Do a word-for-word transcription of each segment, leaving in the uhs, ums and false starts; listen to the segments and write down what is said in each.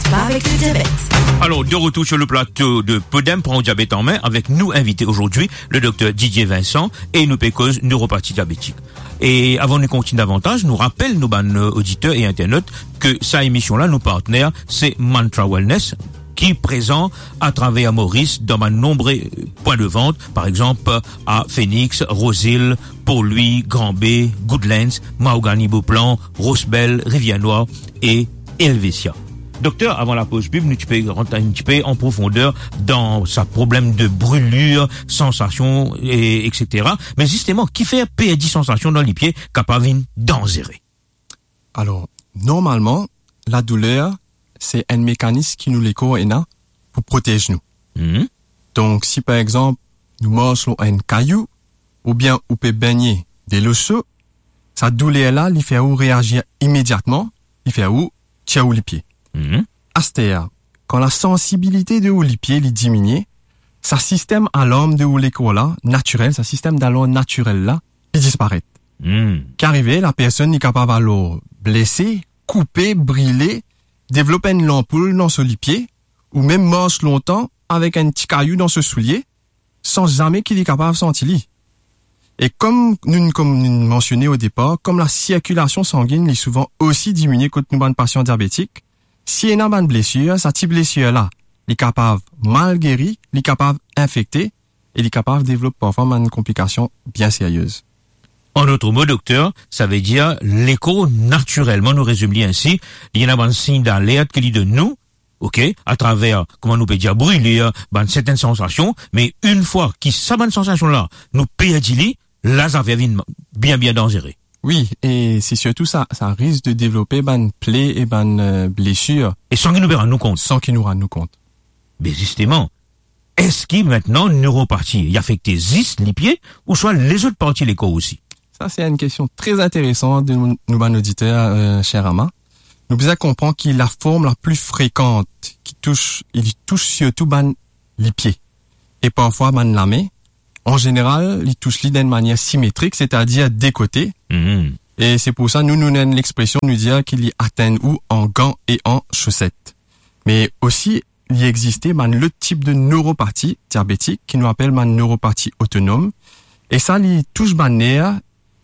Pa avek le diabet. Alors, de retour sur le plateau de Podem, Pran ou diabet an me, avek nou invite ozordi, le docteur Didier Vincent, e nou pe koz neuropathie diabétique. E avan nou kontinie davantaz, nou rapel nou bann, euh, oditer e internot ke sa emision la, nou partner, se Mantra Wellness, ki prezan atraver Moris dan bann nonbre pwin de vant, par exanp, a Phoenix, Rose Hill, Port-Louis, Grand Bay, Goodlands, Mahogany, Beauplan, Roche Belle, Rivière Noire e Helvetia. Dokter, avan lapoz pib, nou ti pe rant enn tipe an profonder dan sa problem de brilir, sansasion, e, etsetera. Me zisteman, kifer perdi sansasion dan lipie kapav vinn danzere? Alor, normalman, ladouler, se enn mekanis ki nou lekor ena pou protez nou. Mhm. Donk, si par exanp, nou mars lor enn kayou, oubien ou pe begne delo so, sa douler la, li fer ou reazir imediatman, li fer ou tir ou lipie. Mhm. Aster, kan lasansibilite de ou lipie li diminie, sa sistem alarm de ou lekor la, natirel, sa sistem dalarm natirel la, li disparet. Hmm. Ki arive, lapersonn li kapav alor blese, koupe, brile, devlop enn lanpoul dan so lipie, ou mem mars lontan avek enn ti kayou dan so soulie, san zame ki li kapav santi li. E kom nou, kom nou mansione o depar, kom lasirkilasion sanginn li souvan osi diminie kot nou bann pasian diabetik, si ena bann blesir, sa ti blesir la, li kapav mal geri, li kapav infekte, e li kapav devlop parfwa bann konplikasion bien serye. An lot mo, dokter, savedir lekor natirelman, nou rezim li ensi, li ena bann sign dalert ki li donn nou, ok, atraver, kouma nou pe dir, brilir, bann sertenn sansasion, me enn fwa ki sa bann sansasion la, nou perdi li, la zafer vinn bien, bien danzere. Wi, e se sirtou sa, sa risk de devlope bann ple e bann, euh, blesir. E san ki nou pe rann nou kont. San ki nou rann nou kont. Me zisteman, eski mintnan neuropati, li afekte zis lipie ouswa lezot parti lekor osi? Sa, se enn kestion tre interesan de nou, nou bann oditer, euh, cher Rama. Nou bizin konpran ki laform la pli frekan ki tous, li tous sirtou bann lipie e parfwa bann lame. An zeneral, li tous li dan enn manier simetrik, setadir de kote. Mhm. E se pou sa, nou, nou ena enn lexpresion, nou dir ki li atenn ou an gan e an soset. Me osi, li existe bann lot tip de neuropati diabetik ki nou apel bann neuropati otonom. E sa, li tous bann ner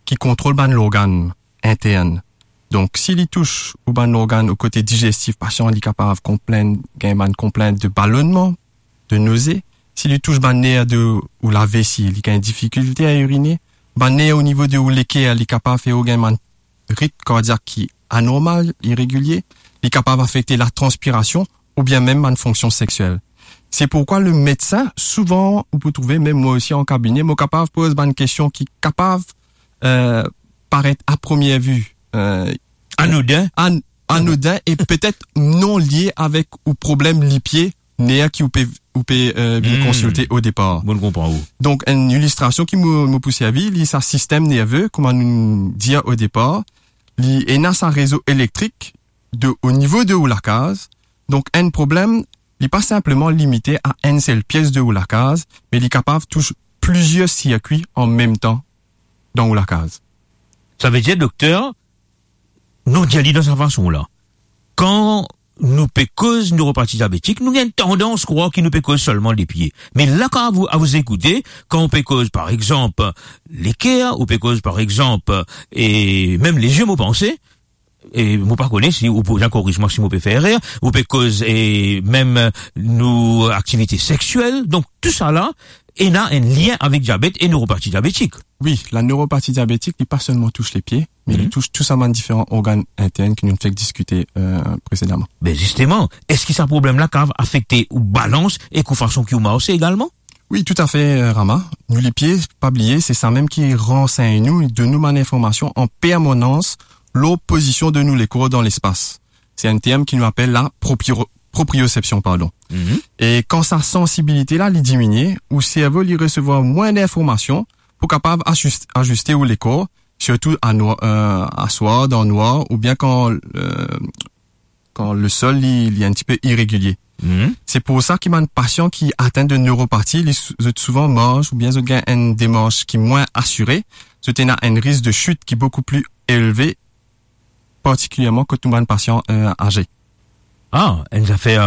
ki kontrol bann lorgann intern. Donk, si li tous ou bann lorgann o kote digestif, pasian li kapav konplinn, gagn bann konplint de balonnman, de noze. Si li tous bann ner de ou lavesi, li gagn difikilte a irine. Bann ner o nivo de ou leker, li kapav fer ou gagn bann ritm kardiak ki anormal, iregilie. Li kapav afekte latranspirasion oubien mem bann fonksion sexiel. Se pourkwa lemedsin, souvan, ou pou trouve, mem mwa osi an kabine, mo kapav poz bann kestion ki kapav, euh, paret a premie vi, euh, anodin. An-, anodin e petet non lie avek ou problem lipie, ner ki ou pe, ou pe, euh, vinn Hmm. konsilte o depar. Bon, nou konpran ou. Donk, enn ilistrasion ki mo, mo pou servi, li sa sistem nerve, kouma nou dir o depar, li ena sa rezo elektrik de, o nivo de ou lakaz. Donk, enn problem, li pa sinpleman limite a enn sel pies de ou lakaz, me li kapav tous plizier sirkwi an mem tan dan ou lakaz. Savedir, dokter, nou dir li dan sa fason la. Kan nou pe koz neuropati diabetik, nou gagn tandans krwar ki nou pe koz selman lipie. Me la, kan a vous, à vous écouter, kan ou pe koz, par exanp, leker, ou pe koz, par exanp, e mem lezie, mo panse, e mo pa kone si ou pou korig mwa si mo pe fer erer, ou pe koz, e mem nou aktivite sexiel. Donk, tousala ena enn lien avek diabet e neuropati diabetik. Wi, la neuropati diabetik, li pa selman tous lepie, me li Mhm. tous tou sa bann diferan organn intern ki nou fek diskite, euh, presedaman. Ben, zisteman, eski sa problem la kapav afekte ou balans e ou fason ki ou marse egalman? Wi, toutafe, euh, Rama. Nou lipie, pa bliye, se sa mem ki ransegn nou, li donn nou bann informasion an permanans lor pozision de nou lekor dan lespas. Se enn term ki nou apel la proprio-, propriosepsion, pardon. Mhm. E kan sa sansibilite la, li diminie, ou servo, li resevwar mwin linformasion pou kapav azis-, aziste ou lekor, sirtou a nwa-, euh, aswar, dan nwar, oubien kan, euh, kan lesol, li, li enn tipe iregilie. Mhm. Se pou sa ki bann pasian ki atenn de neuropati, li sou-, zot souvan mars oubien zot gagn enn demars ki mwin asire, zot ena enn risk de sit ki boukou pli elve, partikilierman kot nou bann pasian, euh, aze. Ah, enn zafer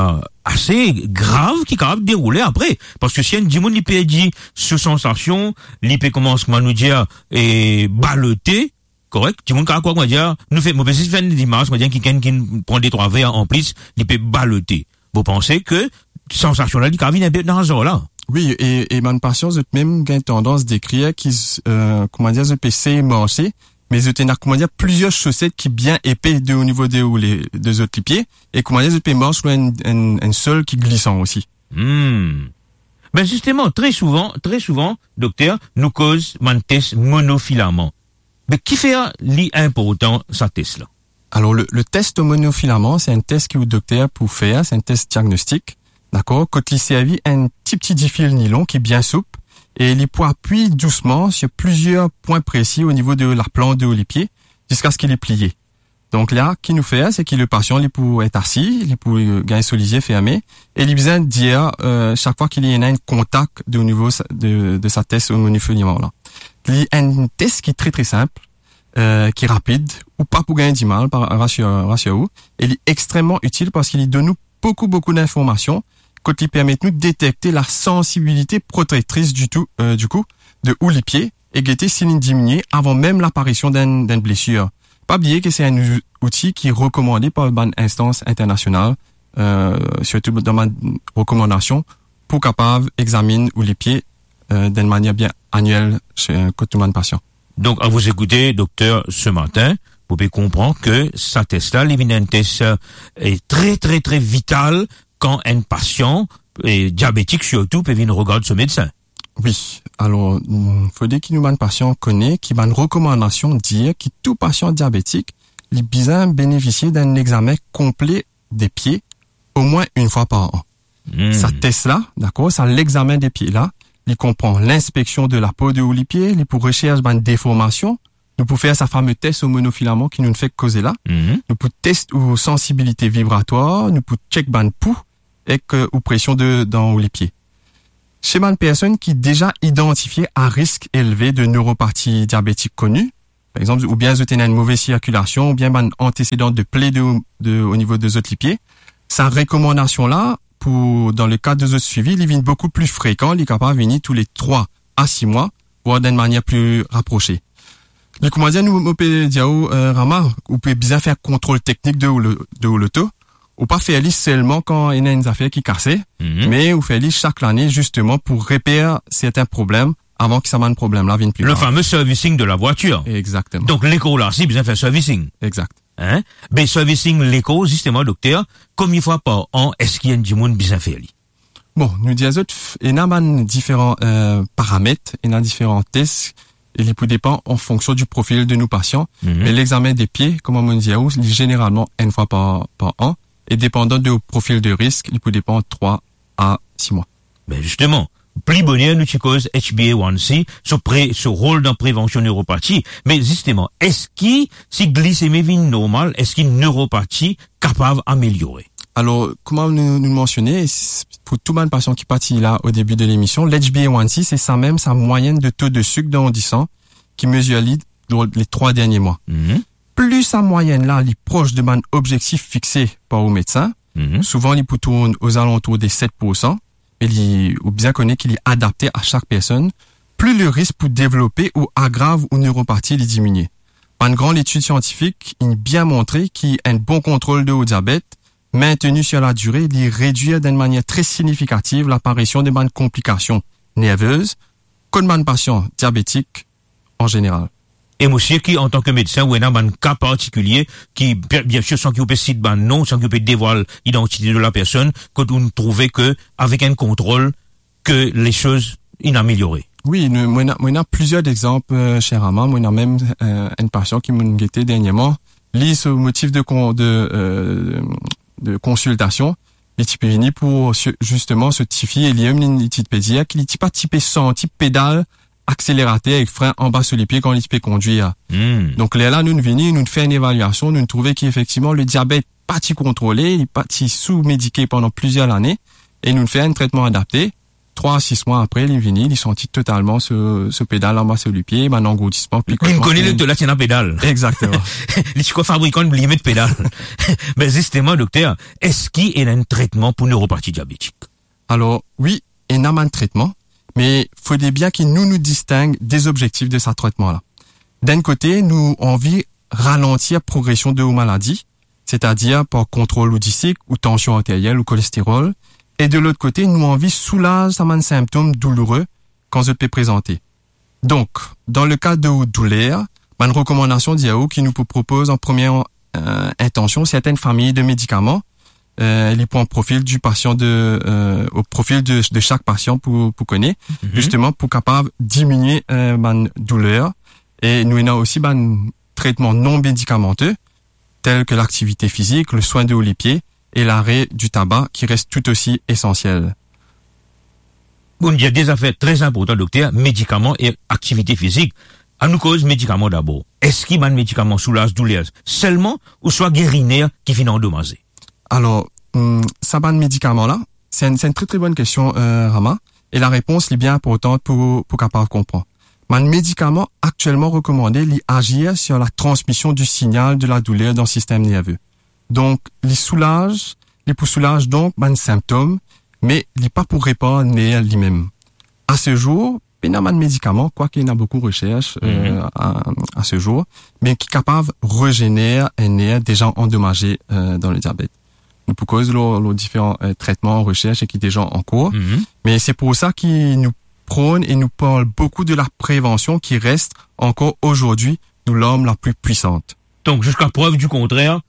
ase grav ki kapav deroule apre. Parski si enn dimoun li perdi so sansasion, li pe koumans, kouma nou dir, e, balote, korek? Dimoun kapav krwar, kouma dir, nou fer, mo pe zis fer enn limaz, kouma dir, kikenn ki pran de trwa ver anplis, li pe balote. Mo panse ki sansasion la, li kapav vinn enpe dan sa la. Wi, e, e bann pasian, zot mem gagn tandans dekrir ki, e, kouma dir, zot pe sey marse, me zot ena, kouma dir, plizier soset ki bien epe de o nivo de, ou le, de zot lipie, e kouma dir, zot pe mars lor enn, enn, enn sol ki glisan osi. Hmm. Be zisteman, tre souvan, tre souvan, dokter, nou koz bann tes monofilaman. Me kifer li inportan, sa tes la? Alor, le, le tes monofilaman, se enn tes ki ou dokter pou fer, se enn tes diagnostik, dakor? Kot li servi enn ti, ti difil nilon ki bien soup, e li pou apiy dousman sir plizier pwin presi o nivo de laplant de ou lipie, ziskaski li pliye. Donk la, ki nou fer, se ki le pasian, li pou et asi, li pou, e, gagn so lizie ferme, e li bizin dir, e, sak fwa ki li ena enn kontak de o nivo sa, de, de sa tes monofilaman la. Li enn tes ki tre, tre sinp, e, ki rapid, ou pa pou gagn dimal, par, rasir, rasir ou, e li extrememan itil parski li donn nou boukou, boukou dinformasion, kot li permet nou detekte la sansibilite protektris ditou, e, dikou, de ou lipie, e gete si li diminie avan mem laparision d'enn, d'enn blesir. Pa bliye ki se enn ou-, outi ki rekomande par bann instans internasional, e, sirtou dan bann rekomandasion pou kapav examinn ou lipie, e, d'enn manier bien aniel, se, kot tou bann pasian. Donc, à vous écouter, docteur, ce matin, vous pouvez comprendre que sa tes la, li vinn enn tes, e, tre, tre, tre vital kan enn pasian, e, diabetik sirtou, pe vinn regard so medsin. Wi, alor, mm, fode ki nou bann pasian kone ki bann rekomandasion dir ki tou pasian diabetik, li bizin benefisie d'enn examen konple de pie omwin enn fwa par an. Hmm. Sa tes la, dakor, sa lexamen de pie la, li konpran linspeksion de lapo de ou lipie, li pou resers bann deformasion, nou pou fer sa fame tes o monofilaman ki nou fek koze la, mhm, nou pou tes ou sansibilite vibratwar, nou pou chek bann pou ek, e, ou presion de, dan ou lipie. Se bann personn ki deza idantifie a risk elve de neuropati diabetik koni, par exanp, oubien zot ena enn move sirkilasion, oubien bann antesedan de pie de, de, o nivo de zot lipie, sa rekomandasion la, pou, dan le kad de zot swivi, li vinn boukou pli frekan, li kapav vini tou le trwa a sis mwa, vwar d'enn manier pli raprose. Li, kouma dir, nou, mo pe dir ou, e, Rama, ou pe bizin fer kontrol teknik de ou lo-, de ou loto, ou pa fer li selman kan ena enn zafer ki kase, mhm, me ou fer li sak lane, zisteman, pou reper sertin problem avan ki sa bann problem la vinn pli grav. Le fameux servicing de la voiture. Exactement. Donc, lekor la, si bizin fer servicing. Exact. Hein? Be servicing lekor, zisteman, dokter, konbien fwa par an eski enn dimoun bizin fer li? Bon, nou dir zot, f-, ena bann diferan, e, paramet, ena diferan tes, e li pou depan an fonksion di profil de nou pasian. Mhm. Me lexamen de pie, kouma mo dir ou, li zeneralman enn fwa par, par an, e depandan de profil de risk, li pou depan trwa a sis mwa. Ben zisteman, pli boner nou ti koz H B A one C, so pre-, so rol dan prevansion neuropati, me zisteman, eski si glisemi vinn normal, eski neuropati kapav ameliore? Alor, kouma nou, nou mansione, s-, pou tou bann pasian ki pa ti la o debi de lemision, le H B A one C, se samem sa mwayenn de to de sik dan disan ki mezir li dan le trwa dernie mwa. Mhm. Pli sa mwayenn la, li pros de bann obzektif fixe par ou medsin, mhm, souvan li pou tourn ozalantour de set poursan, e li, ou bizin kone ki li adapte a sak personn, pli le risk pou devlope ou agrav ou neuropati li diminie. Bann gran letid siantifik inn bien montre ki enn bon kontrol de ou diabet, menteni sir ladire, li redwir d'enn manier tre signifikativ laparision de bann konplikasion nervez, kot bann pasian diabetik an zeneral. E mo sir ki, antan ki medsin, ou ena bann ka partikilie ki, bien, biensir, san ki ou pe sit bann non, san ki ou pe devwal idantite de la personn, kot ou trouve ki, avek enn kontrol, ki lesoz inn ameliore. Wi, nou, mo ena, mo ena plizier exanp, e, cher Rama. Mo ena mem, e, enn pasian ki mo'nn gete dernierman. Li, so motif de kon-, de, e, de konsiltasion, li ti pe vini pou, si-, zisteman, so tifi, e li mem, li, li ti pe dir ki li ti pa ti pe santi pedal akselerater ek fren anba so lipie kan li ti pe kondwir. Hmm. Donk, lerla, nou, nou vini, nou fer enn evaliasion, nou trouve ki efektivman, le diabet pa ti kontrole, li pa ti sou medike pandan plizier lane, e nou fer enn tretman adapte, trwa a sis mwa apre, li vini, li santi totalman so, so pedal anba so lipie, bann angourdisman, pikonman. Li kone le to la ti ena pedal. Exactement. Li ti krwar fabrikan li met pedal. Me zisteman, dokter, eski ena enn tretman pou neuropati diabetik? Alor, wi, ena bann tretman, me fode bien ki nou, nou disteng de zobzektif de sa tretman la. D'enn kote, nou anvi ralantir progresion de ou maladi, setadir par kontrol ou disik, ou tansion arteriel, ou kolesterol, e de lot kote, nou anvi soulaz sa bann sinptom douloure kan zot pe prezante. Donk, dan le ka de ou douler, bann rekomandasion dir ou ki nou pou propoz an premie, euh, intension sertenn fami de medikaman, euh, li pou an profil di pasian de, euh, o profil de, de sak pasian pou, pou kone, zisteman pou kapav diminie, euh, bann douler. E nou ena osi bann tretman non medikamante, tel ke laktivite fizik, le swin de ou lipie e lare di taba ki res tou osi esansiel. Bon, dir de zafer tre inportan, dokter, medikaman e aktivite fizik. Annou koz medikaman dabor. Eski bann medikaman soulaz douler selman ouswa geri ner ki finn andomaze? Alor, hmm, sa bann medikaman la, se enn, se enn tre, tre bonn kestion, euh, Rama, e larepons li bien inportan pou, pou kapav konpran. Bann medikaman aktielman rekomande, li azir sur la transmision di signal de la douler dan sistem nerve. Donk, li soulaz, li pou soulaz donk bann sinptom, me li pa pou repar ner limem. A se zour, pena bann medikaman, kwake ena boukou resers, euh, a, a se zour, me ki kapav rezener enn ner deza andomaze, euh, dan le diabet. Nou pou koz lor, lor diferan, euh, tretman, resers e ki deza an kour. Me se pou sa ki nou pronn e nou parl boukou de la prevansion ki res ankor azordi nou larm la pli pwisant. Donk, ziska prev di kontrer,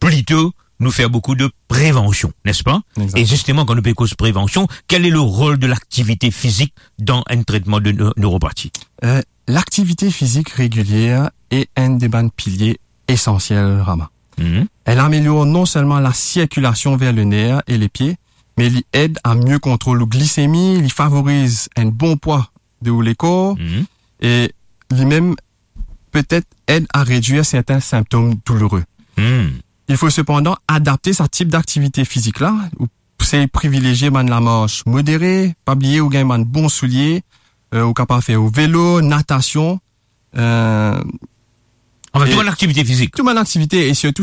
plito nou fer boukou de prevansion, nespa? Exact. E zisteman, kan nou pe koz prevansion, kel e le rol de laktivite fizik dan enn tretman de neu-, neuropati? Euh, laktivite fizik regilie e enn de bann pilie esansiel, Rama. Mhm. El amelior non selman la sirkilasion ver le ner e lepie, me li ed a mie kontrol ou glisemi, li favoriz enn bon pwa de ou lekor, Mhm. e limem petet ed a redwir sertin sinptom douloure. Hmm. Il faut cependant adapter sa tip d'aktivite fizik la, ou sey privilezie bann lamars modere, pa bliye ou gagn bann bon soulie, euh, ou kapav fer ou velo, natasion, euh, Anfin, e tou bann aktivite fizik. Tou bann aktivite, e sirtou